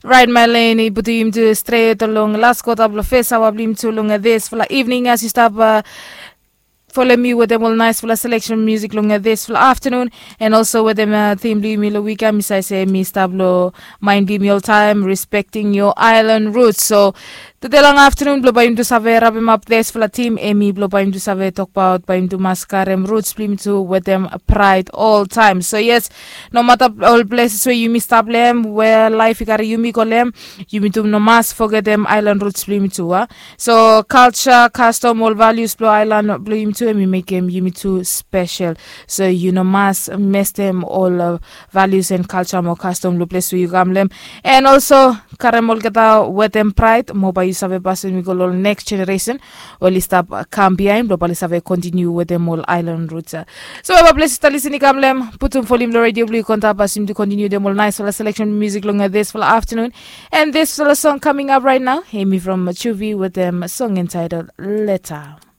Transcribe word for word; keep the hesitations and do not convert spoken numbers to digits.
Right, Mylene, i putum yumi tu stret long las kota blong fes awa blong yumi tu long disfala evening as yu stap folem mi wetem ol naisfala selection musik long disfala aftanun. And also wetem tim blong yumi long wik ya mi save se mi stap long mind blong yumi oltaem respecting your island roots. So tude long aftanun blong bae yumi tu save rapemap disfala tim, em i blong bae yumi tu save tokbaot bae yumi tu mas karem roots blong yumi tu wetem praed oltaem. So yes, nomata ol places we yumi stap long em we laef i kari yumi go long em, yumi tu no mas fogetem aelan ruts blong yumi tu a. So kalja, kastom, ol valius blong aelan blong yumi tu em i mekem yumi tu spesel. So yu no mas mestem ol valius en kalja mo kastom blong ples we yu kam long em. En olso karem olgeta wetem praed mo bae yu save pasim i go long ol neks jeneresen oli stap kam biaen blong bae oli save kontiniu wetem ol aelan ruts. So eva ples yu stap lisin i kam long em, putum volim long redio blong yu kontap as yumi tu kontiniu wetem ol naisfala seleksen musik long disfala aftanun. And disfala song kaming ap raet nao em i from juvi wetem song entitled Leta.